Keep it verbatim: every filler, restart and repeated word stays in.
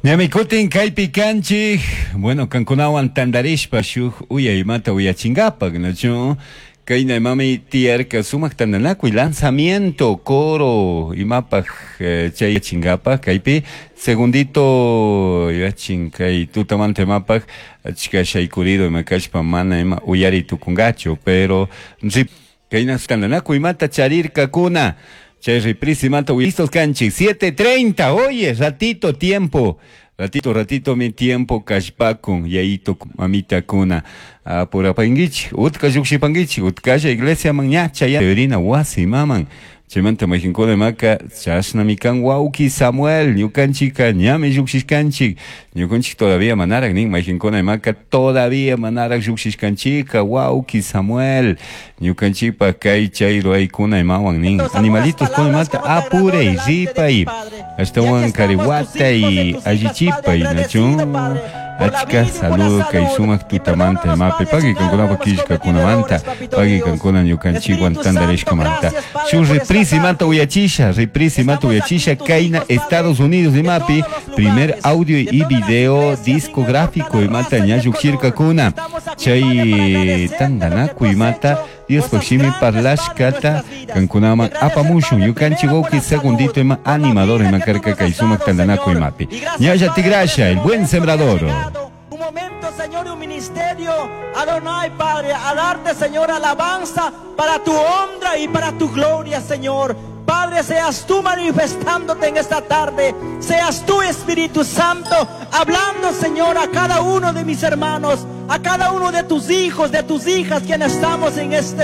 Ñami kutin kaypi kanchik, bueno, kankunawan tandarishpa shuk uyaymata uyachinkapak, nachu? Kayna imami tiyarka sumak tandanakuy lanzamiento coro imapaj eh, chay chinkapak kaypi segundito yachin kay tutamanta imapaj achka shaykurido ima kashpa mana ima uyari tukungachu pero kayna tandanakuy imata charirkakuna chay reprise imata listos kanchik siete treinta, oye, ratito tiempo. Ratito, ratito mi tiempo kashpakun, yayito mamita kuna. Apurapanguichik, utka llukshipanguichik, utkalla iglesia man ña chaya rina wasi maman. Chaymanta mayqinkuna imaka chashnami kan wawki Samuel, ñukanchika ñami lluksishkanchik, ñukanchik todavía manarak nin mayqinkuna imaka todavía manarak lluksishkanchika wawki Samuel, ñukanchikpa kay chay ruwaykuna imawan nin animalitos kuna imata apuray ripay, ashtawan kariwatay allichipay nachu. Achka saludo kay sumak tutamanta imapi pagui kankunapa killkakunamanta pagui kankuna ñukanchikwan tantarishkamanta shuk reprise imanta uyachisha reprise imanta uyachisha kayna Estados Unidos imapi primer audio y video discográfico imata ña llukshirkakuna chay tantanakuy imata Diospaj shimi parlashkata kankunaman apamushun ñukanchik wawki segundito ima animador ima karka kay sumak tantanakuy imapi ñalla tigrasha el buen sembrador. Un momento, Señor, un ministerio, Adonai, Padre, a darte, Señor, alabanza para tu honra y para tu gloria, Señor. Padre, seas tú manifestándote en esta tarde, seas tú, Espíritu Santo, hablando, Señor, a cada uno de mis hermanos, a cada uno de tus hijos, de tus hijas, quienes estamos en este